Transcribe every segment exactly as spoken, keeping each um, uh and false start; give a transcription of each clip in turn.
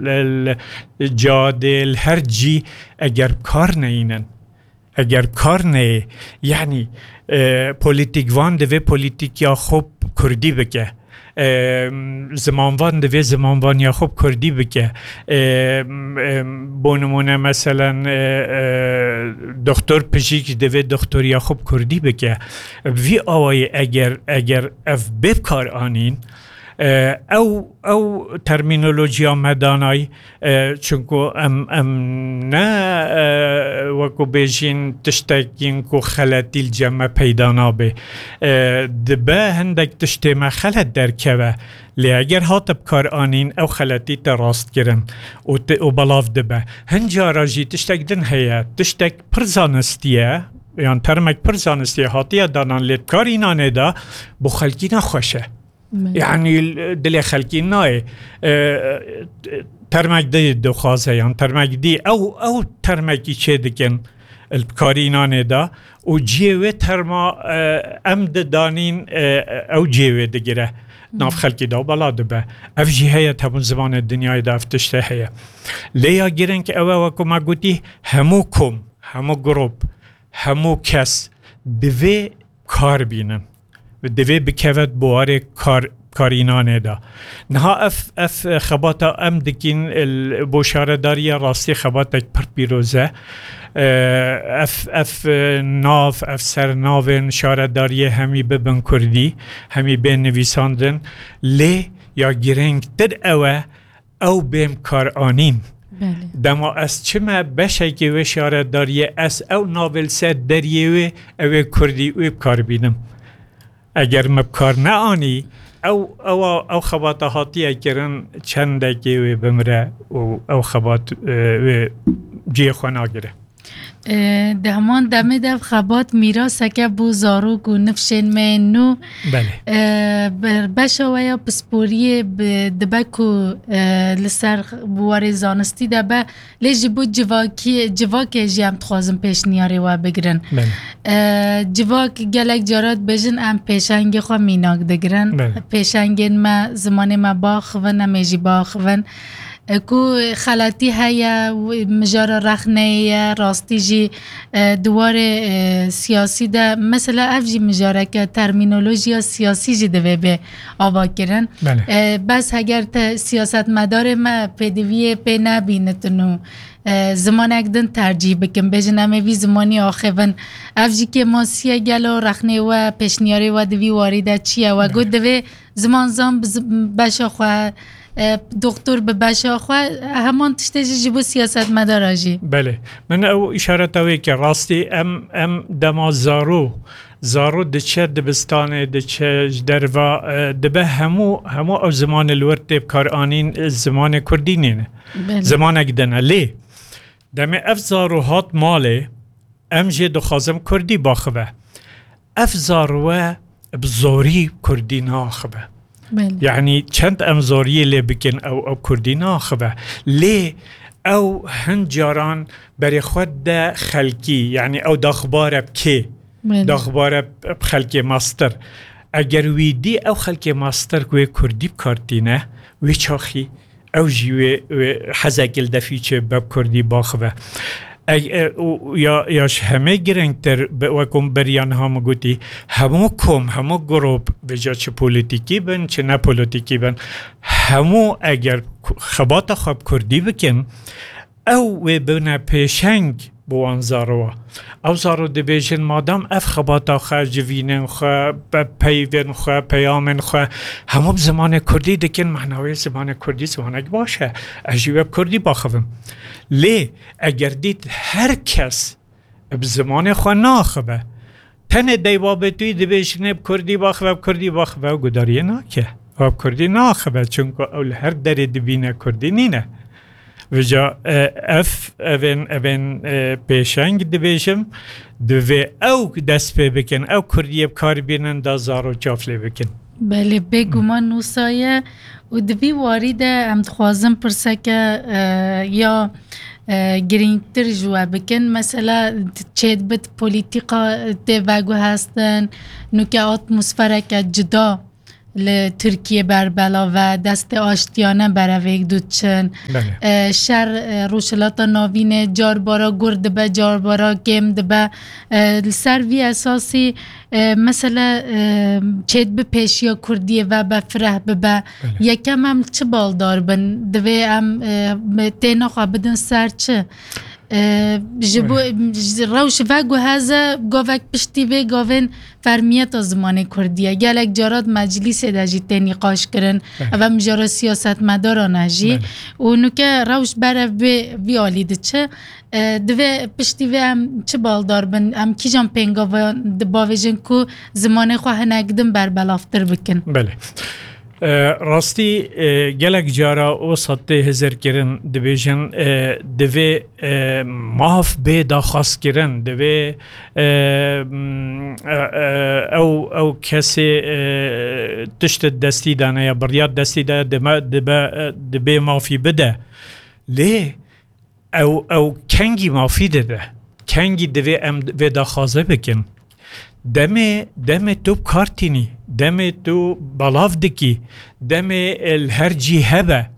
li, li cadê, li her cî eger bi kar neyînin, eger bi kar neyê, yanî, e, polîtîkvan divê polîtîkiya xwe bi kurdî bike. E, zimanvan divê zimanvaniya xwe bi kurdî bike. E, e, bo nimûne, meselen, e, e, doktor pijîk divê doktoriya xwe bi kurdî bike. Bi vî awayî eger, eger ev bê bi kar anîn, e, ew, ew termînolojiya me danay, e, çunku em, em ne, e, wekû bêjîn tiştekîn ku xeletî li cem me peyda nabe. E, dibe hindek tiştê me xelet derkeve. Lê eger hate bi kar anîn, ew xeletî te rast kirin û te, û belav dibe. Hin cara jî tiştek din heye, tiştek pir zanistî ye, yan termek pir zanistî ye, hatiye danan, lê di karînanê de bo xelkî ne xweş e. Yanî dilê xelkî nayê. E, termek dî dixwaze, yan termek dî, ew, ew termekî çê dikin li karînanê de û cihê wê terma, e, em didanîn, e, ew cihê wê digire. Nav xelkî de bela dibe. Ev jî heye, di hemû zimanê dinyayê de ev tiştê heye. Lê ya girîng ew e, wekû me gotî, hemû kom, hemû grûp, hemû kes divê kar bînin. Divê bikeve di buwarê kar, karînanê de. Niha ev, ev xebata em dikîn, il, bo şaredariya rastî xebatek pir pîroz e. E, ev, ev, e, nav, ev sernavên şaredariyê hemî bibin kurdî, hemî bên nivîsandin. Lê ya girîngtir ew e, ew bên bi kar anîn. Belê. Dema ez çime beşekê wê şaredariyê, ez ew navê li ser deriyê wê, ew ê kurdî wê bi kar bînim. Eger me bi kar neanî, ew, ew, ew xebata hatiye kirin, çendekê wê bimire û ew xebat, e, wê cihê xwe nagire. E, di heman demê de ev xebat mîraseke bo zarok û nifşên me yên nû. Belê. E, ber-, beşa we ya pisporiyê bi-, dibe ku, e, li ser bi warê zanistî de be, lê ji bo civakî-, civakê jî em dixwazin pêşniyarê we bigirin. Belê. E, civak gelek cara dibêjin, em pêşengê xwe mînak digirin. Belê. Pêşengên me, zimanê me biaxivin, em ê jî biaxivin. E, ku xeletî heye, mijara rexneyê ye, rastî jî, e, di warê, e, siyasî de, mesela ev jî mijareke termînolojiya siyasî jî divê bê avakirin. Belê. E, bes heger te siyasetmedarê me pêdiviyê pê nebînitin û, e, zimanek din tercîh bikin, bêjin em ê vî zimanî axivin. Ev jî kêmasî ye, gelo rexnê we, pêşniyarê we di vî warî de çi ye? We got divê zimanzan bi zi-, beşa xwe, e, doktor bi beşa xwe, heman tiştê jî ji bo siyasetmedara jî. Belê. Min ew îşareta wê kir. Rastî em, em dema zaro, zaro diçe dibistanê, diçe ji derva, e, dibe hemû, hemû ew zimanê li wir tê bi kar anîn, e, zimanê kurdî nîne. Belê. Zimanek din e. Lê demê ev zaro hat malê, em jê dixwazin kurdî biaxive. Ev zarwe bi zorî kurdî naaxive. Belê. Yanî çend em zoriyê lê bikin, ew, ew kurdî naaxive. Lê ew hin caran berê xwe de xelkî, yanî ew daxbare bi kê? Belê. Daxbare bi xelkê mastir. Eger wî dî ew xelkê mastir ku wê kurdî bi kar tîne, wê çaxî ew jî wê, wê hezekî li defî çê be bi kurdî biaxive. E, e, û ya, ya ji hemê girîngtir, bi, wek hûn beriya niha min gotî, hemû kom, hemû grûp, vêca çi polîtîkî bin, çi ne polîtîkî bin, hemû eger ku-, xebata xwe bi kurdî bikin, ew wê bibine pêşeng bo wan zarowa. Ew zaro dibêjin, madam ev xebata xwe, civînên xwe, pe-, peyvên xwe, peyamên xwe, hemû bi zimanê kurdî dikin, mehna wê zimanê kurdî zimanek baş e. Ez jî wê bi kurdî biaxivim. Lê eger dît her kes bi zimanê xwe naaxive, tenê dey babetûyî dibêjinê bi kurdî biaxive, bi kurdî biaxive, ew gudariyê nake. Ew bi kurdî naaxive, çunku ew li her derê dibîne kurdî nîne. Vêca, e, ev, evên, evên, e, pêşeng dibêjim, divê ew dest pê bikin, ew kurdiyê bi kar bînin da zaro çav lê bikin. Belê, bêguman wisa ye û di vî warî de em dixwazin pirseke, e, ya, e, girîngtir ji we bikin. Mesela çêdibit polîtîka tê veguhestin, nûke atmosfereke cuda li Tirkiye berbelav e, destê aştiyane berevêk diçin. Belê. E, şer, e, Rojhilata Navînê carbara gur dibe, carbara kêm dibe. E, li ser vî esasî, e, mesele, e, çêdibe pêşiya Kurdiyê ve be fireh bibe. Belê. Yekem em çi baldar bin? Divê em, e, têna xwe bidin ser çi? E, ji bo, Belê. ji rewş veguheze, govek piştî vê gavên fermiyeta zimanê kurdî ye. Gelek carat meclîsê de jî tê nîqaş kirin. Belê. Ev em jara siyasetmedaran e jî. Belê. Û nuke rewş berev vê, vî alî diçe. E, divê piştî vê em çi baldar bin? Em kîjan pêngava di-, bavêjin ku zimanê xwe hinek din berbelavtir bikin? Belê. E, rastî, e, gelek cara wisa tê hizirkirin, dibêjin, e, divê, e, maf bê daxwazkirin, divê, e, m, e, e, ew, ew kesê, e, tişt destî dane ya biryar destî de dime, dibe, e, dibê mafî bide. Lê ew, ew kengî mafî dibe? Kengî divê em vê daxwaze bikin? Demê, demê tu bi kar tînî, demê tu belav dikî, demê, e, li her cî hebe,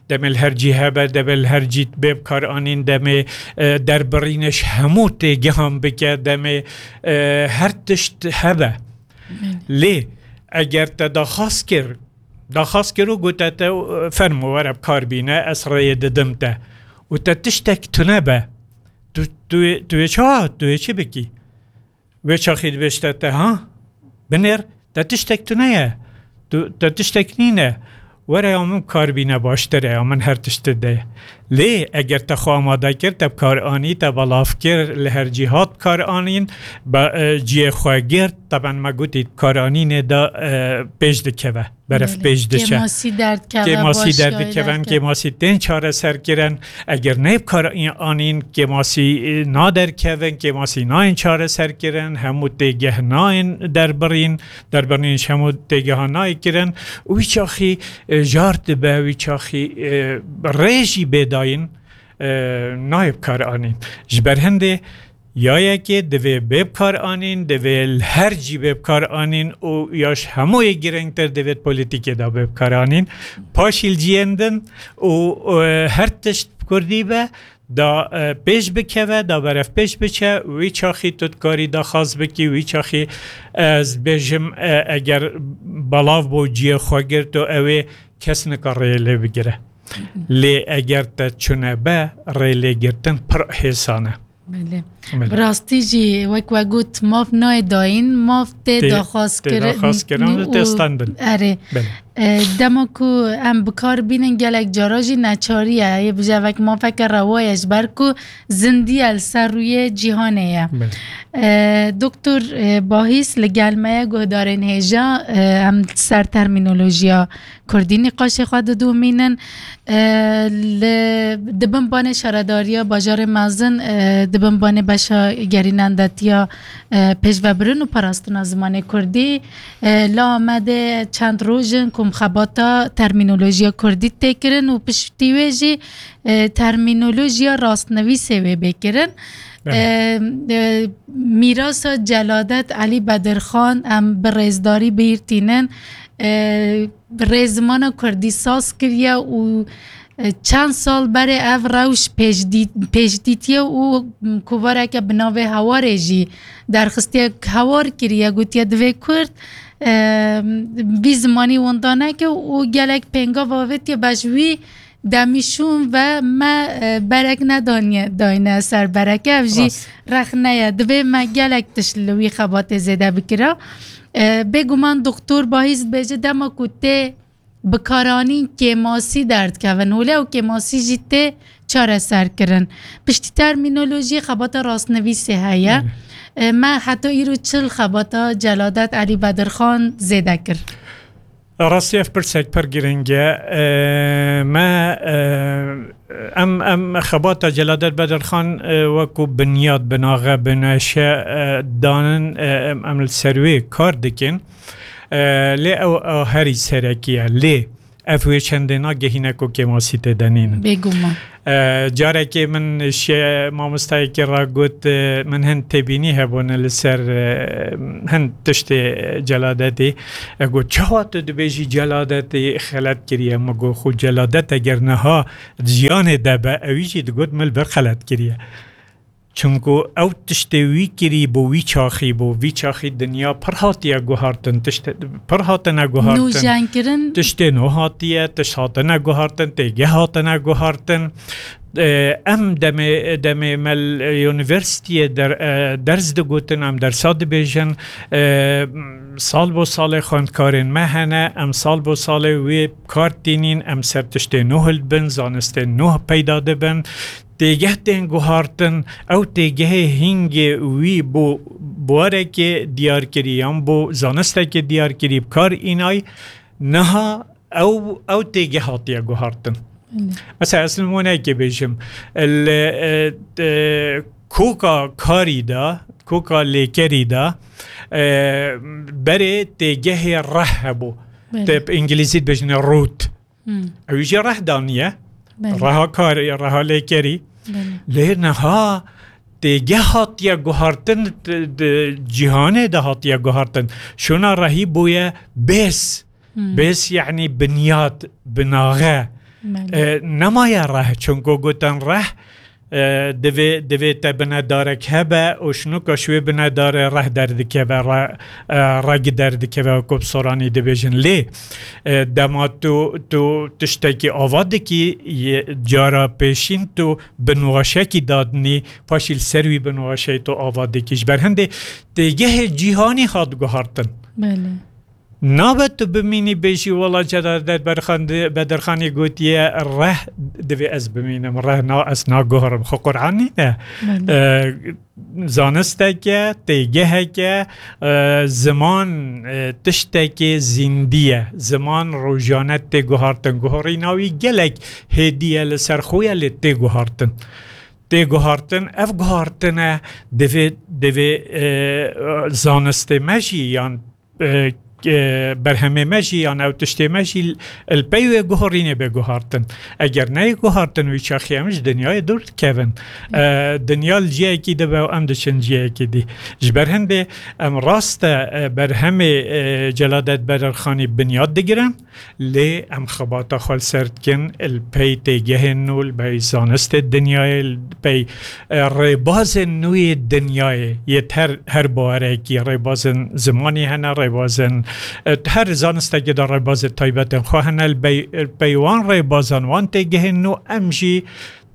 demê li her cî hebe, demê li her cî bê bi kar anîn, demê, e, derbirîne ji hemû têgehan bike, demê, e, her tişt hebe. Belê. Lê eger te daxwaz kir, daxwaz kir û gote te, e, fermo were bi kar bîne, ez rêyê didim te. Û te tiştek tune be. Tu, tu, tu yê çawa, tu yê çi bikî? Wê çaxî dibêjte te, ha? Binêr, te tiştek tune ye. Tu, te tiştek nîne. Were ya min kar bîne baştir e, ya min her tişt de. Lê eger te xwe amade kir, te bi kar anî, te belav kir, li her cî hat bi kar anîn, be, e, ciyê xwe girt, teben me gotî bi kar anînê de, e, pêş dikeve. Beref Belê. Pêş diçe. Kêmasî derdikeve, Kêmasî başiyayî derdikevin, derdikeve. Kêmasî tên çareserkirin. Eger ne bi kar anîn, kêmasî, e, naderkevin, kêmasî nayên çareserkirin, hemû têgeh nayên derbirîn, derbirîn ji hemû têgehan nayê kirin. Û wî çaxî, e, jar dibe, wî çaxî, e, rê jî bê dayîn, e, nayê bi kar anîn. Ji ber hindê Ya yekê divê bê bi kar anîn, divê li her cî bê bi kar anîn û ya ji hemûyê girîngtir divê di polîtîkê de bê bi kar anîn. Paşî li ciyên din û, e, her tişt bi kurdî be, da, e, pêş bikeve, da berev pêş biçe, wî çaxî tu dikarî daxwaz bikî, wî çaxî ez dibêjim, e, eger belav bû ciyê xwe girt û ew ê kes nikare lê bigire. Lê eger te çune be, rêlêgirtin pir hêsan e. Belê. Belê. Bi rastî jî wek we got, maf nayê dayîn, maf tê Tê, daxwaz tê kirin daxwaz kirin û tê û standin. Erê. Belê. E, dema ku em bi kar bînin gelek cara jî neçarî ye. Yê bije wek mafeke rewa ye ji ber ku zindî ye li ser rûyê cîhanê ye. Belê. E, Doktor, e, Bahîs li gel me ye, guhdarên hêja, e, em ser termînolojiya kurdî nîqaşê xwe didomînin. E, li, di bin banê şaredariya bajarê mezin, e, di bin banê beşa gerînendetiya, e, pêşvebirin û parastina zimanê kurdî, e, li Amedê çend roj in ku xebata termînolojiya kurdî tê kirin û piştî wê jî, e, termînolojiya rastnivîsê wê bê kirin. Evet. E, e, mîrasa Celadet Elî Bedirxan em bi rêzdarî bîr tînin. E, rêzimana kurdî saz kiriye û, e, çend sal berê ev rewş pêşdî-, pêşdîtiye û kovareke bi navê Hewarê jî derxistiye, hewar kiriye, gotiye divê kurd, e, vî zimanî winda neke û gelek pêngav avêtiye, be ji wî demî şûn ve me, e, berek nedaniye, dayne ser bereke. Ev jî Rast. rexne ye. Divê me gelek tişt li wî xebatê zêde bikira. E, bêguman Doktor Bahîs dibêje, dema ku tê bikaranîn kêmasî derdikevin holê, ew kêmasî jî tê çareserkirin. Piştî termînolojiyê xebata rastnivîsê heye. Belê. E, me heta îro çil xebata Celadet Elî Bedirxan zêde kir. Rastî ev pirsek pir girîng e. E, me, e, em, em xebata Celadet Bedirxan, e, wekû binyat, binaxe, bineşe, e, danin, e, em, em li ser wê kar dikin. E, lê ew, ew herî serekî ye. Lê ev wê çendê nagehîne ku kêmasî tê de nînin. Bêguman. E, carekê min şê mamostayekî re got, e, min hin têbînî hebûne li ser, e, hin tiştê celadetê. E, got, "Çawa tu dibêjî celadetê xelet kiriye?" Min got, "Xwe celadet eger niha di jiyanê de be, ewî jî digot min li vir xelet kiriye." Çunku ew tiştê wî kirî bû, wî çaxî bû. Vî çaxî dinya pir hatiye guhartin, tiştê pir hatine guhartin. Nûjenkirin. Tiştê nû hatiye, tişt hatine guhartin, têgeh hatine guhartin. E, em demê, demê me li unîversîtiyê der-, e, ders digotin, em dersa dibêjin. E, sal bo salê xwendkarên me hene, em sal bo salê wê kar tînîn, em ser tiştê nû hildibin, zanistên nû peyda dibin. Têgeh tên guhartin, ew têgehê hingê wî bo barekê diyar kirî yan bo zanistekê diyar kirî bi kar înay, niha ew, ew têgeh hatiye guhartin. Belê. Mesela, ez nimûneyekê bêjim, li, e, e, koka karî de, koka lêkerî de, e, berê têgehê reh hebû. Belê. Te bi îngilîzî dibêjine root. Hmm. Ew jî reh daniye. Belê. Reha karî, reha lêkerî. Belê. Lê niha têgeh hatiye guhartin, di, di cîhanê de hatiye guhartin. Şûna rehî bûye bês. Hmm. Bês, yanî binyat, binaxe. Belê. E, nemaye reh, çunku gotin reh, e, divê, divê te binedarek hebe û şinoka ji wê binedarê reh derdikeve, re-, e, reg derdikeve, wekî bi soranî dibêjin. Lê, e, dema tu, tu tiştekî ava dikî, yê, cara pêşîn tu binwaşekî dadinî, paşî li ser wî binwaşeyê tu ava dikî. Ji ber hindê têgehê cîhanî hat guhartin. Belê. Nabe tu bimînî bêjî, "Wela Celadet Berxan-, Bedirxanî gotiye, reh divê ez bimînim, reh na, ez naguherim." Xwe Qur'an nîne. Belê. E, zanisteke, têgeheke, e, ziman, e, tiştekê zîndî ye. Ziman rojane tê guhartin. Guherîna wî gelek hêdî ye, li ser xwe ye, lê tê guhartin. Tê guhartin, ev guhartine divê, divê, e, zanistê me jî yan e, e, berhemê me jî, yan ew tiştê me jî li pey wê guherînê bê guhartin. Eger neyê guhartin, wî çaxî em ji dinyayê dûr dikevin. E, dinya li ciyekî dibe û em diçin ciyekî dî. Ji ber hindê em rast e, e, berhemê, e, Celadet Bedirxanî binyat digirin, lê em xebata xwe li ser dikin, li pey têgehên nû, li pey zanistê dinyayê, li pey e, rêbazên nû yê dinyayê, yê her, her bawerekî, rêbazên zimanî hene, rêbazên, e, her zanistekê de rêbazên taybetên xwe hene. Li bey-, pey wan rêbazan, wan têgehên nû, em jî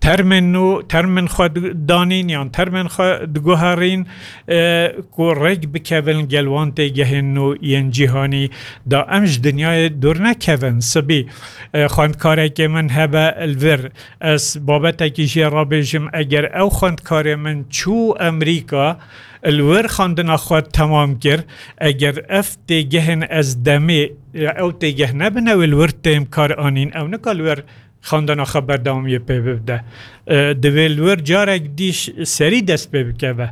termên nû, termên xwe di-, danîn yan termên xwe diguherîn, e, ku rêk bikevin gel wan têgehên nû yên cîhanî, da em ji dinyayê dûr nekevin. Sibî, e, xwendkarekê min hebe li vir, ez babetekî jê re bêjim, eger ew xwendkarê min çû Amerîka, li wir xwendina xwe temam kir, eger ev têgehên ez demê, ew têgeh nebine wê li wir tên kar anîn, ew nika li wir xwendina xwe berdewamiyê pê bibde. E, divê li wir carek dî ş-, serî dest pê bikeve.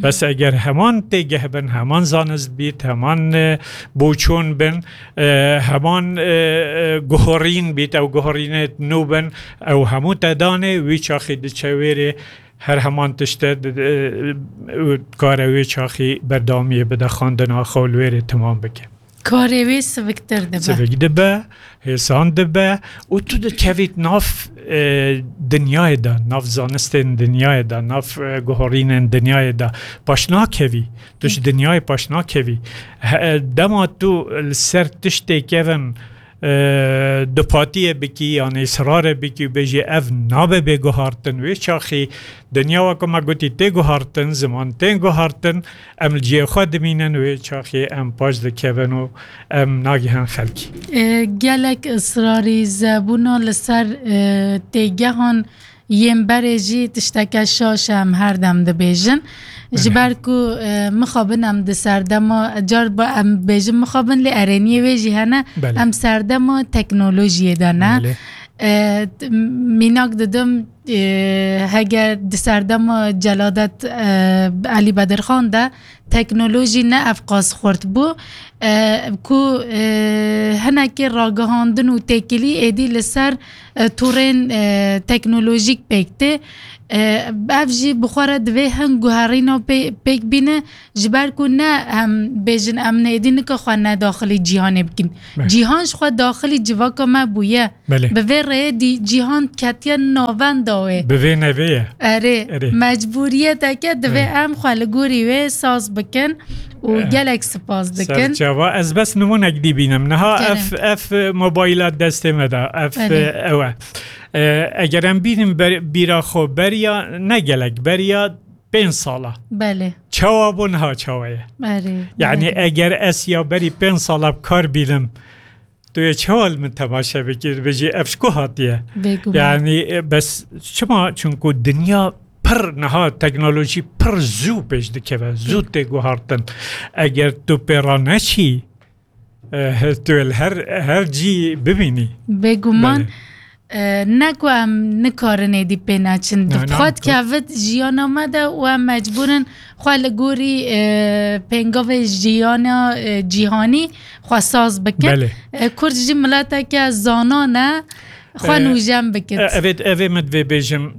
Bes eger heman têgeh bin, heman zanist bît, heman, e, boçûn bin, e, heman, e, e, guherîn bît, ew guherînê nû bin, ew hemû te danê, wî çaxî diçe wêrê, her heman tişte di-, e, û dikare wê çaxî berdewamiyê bide, xwendina xwe li wêrê timam bike. Karê wê siviktir dibe. Sivik dibe, hêsan dibe û tu dikevît nav, e, dinyayê de, nav zanistên dinyayê de, nav, e, guherînên dinyayê de. Paş nakevî. Tu ji dinyayê paş nakevî. He, dema tu li ser tiştê kevin, e, dupatiyê bikî, yan îsrarê bikî û bêjî, "Ev nabe bê guhartin." Wê çaxî dinya, weke me gotî, tê guhartin, ziman tên guhartin, em li cihê xwe dimînin, wê çaxî em paş dikevin û em nagihin xelkî. E, gelek israrî zebûna li ser, e, têgehan yên berê jî tişteke şaş e, em her dem dibêjin. Ji Belê. ber ku, e, mixabin em di serdema, car ba em bêjin mixabin, lê erêniyê wê jî hene, Belê. em serdema teknolojiyê de ne. Belê. E, t-, mînak didim, e, heger di serdema Celadet, e, Elî Bedirxan de teknolojî ne ev qas xurt bû, e, ku, e, hinekî ragihandin û têkilî êdî li ser, e, torên, e, teknolojîk pêk tê. E, ev jî bi xwe re divê hin guherîna pê-, pêk bîne, ji ber ku ne em bêjin em êdî nika xwe ne daxilî cîhanê bikin. Belê. Cîhan ji xwe daxilî civaka me bûye. Belê. Bi vê rêyê dî cîhan ketiye navenda wê. Bi vê nevê ye. Erê, Erê. mecbûriyeteke divê Erê. em xwe li gorî wê saz bikin û Eh. gelek spas dikin. Serçava, ez bes nimûnek dî bînim. Niha Kerem. ev, ev mobayla destê me de, ev, Erê. eh, ew e. Eh, eger em bînin ber-, bîra xwe beriya, ne gelek, beriya pênc sala. Belê. Çawa bû niha çawa ye? Erê, Yani erê. eger ez ya berî pênc sala bi kar bînim, tu yê çawa li min temaşe bikî, dibêjî ev ji ku hatiye? Bêguman. Yani, e, bes çima? Çunku dinya pir niha teknolojî pir zû pêş dikeve, zû tê guhartin. Eger tu pê re neçî, e, tu li her, her cî bibînî. Bêguman, Belê. e, ne ku em nikarin êdî pê neçin. Na, na, Xwe tu- dikevit jiyana me de û em mecbûr in xwe li gorî, e, pêngavê jiyana, e, cîhanî xwe saz bikin. Belê. E, Kurd jî mileteke zana ne, xwe E, nûjen bikit. e, evê, evê min divê bêjim,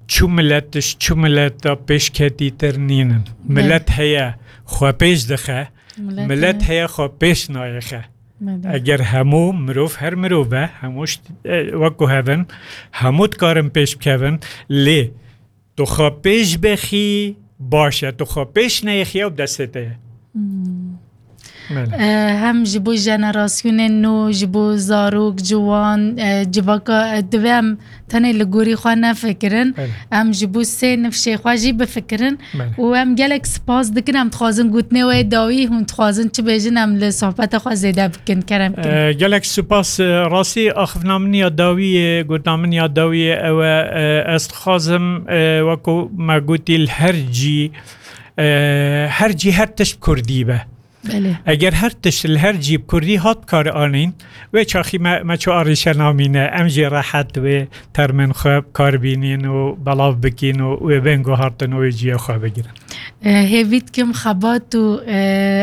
çu milet, çu mileta pêşketîtir nînin. Belê. Milet heye xwe pêş dixe, Milet milet heye. heye xwe pêş nayexe. Belê. Eger hemû mirov, her mirov e, hemû şt-, e, wek ku hevin, hemû dikarin pêş bikevin, lê tu xwe pêş bexî, baş e, tu xwe pêş neyexî, ew destê te ye. Hmm. Belê. E, hem ji bo jenerasyonên nû, ji bo zarok, ciwan, e, civaka, e, divê em tenê li gorî xwe nefikirin. Belê. Em ji bo sê nifşê xwe jî bifikirin. Belê. Û em gelek spas dikin, em dixwazin gotinê wê dawî, hûn dixwazin çi bêjin, em li sohbeta xwe zêde bikin. Kerem kirin. E, gelek spas, e, rastî axifna min ya dawî ye, gotina min ya dawî ye, ew e, e, ez dixwazim, e, wekû me gotî li her cî, e, her cî her tişt bi kurdî be. Belê. Eger her tişt li her cî bi kurdî hat kar anîn, wê çaxî me, me ço arîşe namîne, em jî rehet wê termên xwe bi kar bînîn û belav bikîn û wê bên guhartin û wê ciyê xwe bigirin. E, hêvî dikim xebat û, e,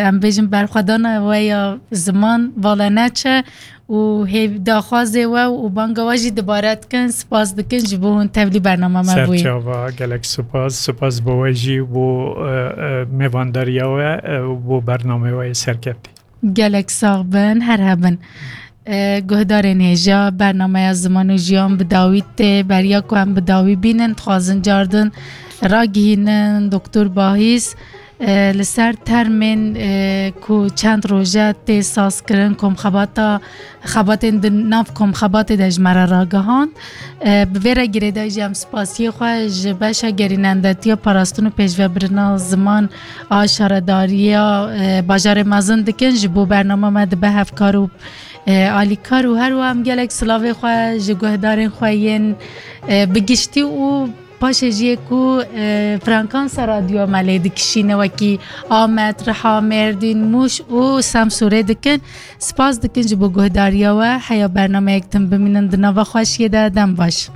em bêjin berxwedana we ya ziman vala neçe û hêv-, daxwazê we û banga we jî dibare dikin, spas dikin ji bo hûn tevlî bernama me bûyî. Serçava, gelek spas, spas bo we jî, bo, e, e, mêvandariya we, e, û bo bernameyê we yê serkeftî. Gelek sax bin, her hebin. E, guhdarên hêja, bernameya Ziman û Jiyan bi dawî tê, beriya ku em bi dawî bînin, dixwazin cardin ragihînin, Doktor Bahîs, e, li ser termên, e, ku çend roje tê sazkirin, komxebata, xebatên di nav komxebatê de ji me re ragihand. E, bi vê re girêdayî jî em spasiyê xwe ji beşa gerînendetiya parastin û pêşvebirina ziman a şaredariya, e, bajarê mezin dikin, ji bo bernama me dibe hevkar û, e, alîkar û her wiha em gelek silavê xwe ji guhdarên xwe yên, e, bi giştî û paşê jî yê ku, e, frekansa radyoya me lê dikişîne, wekî Amed, Riha, Mêrdîn, Mûş û Semsûrê dikin. Spas dikin ji bo guhdariya we. Heya bernameyek din bimînin di nava xweşiyê de. Dem baş.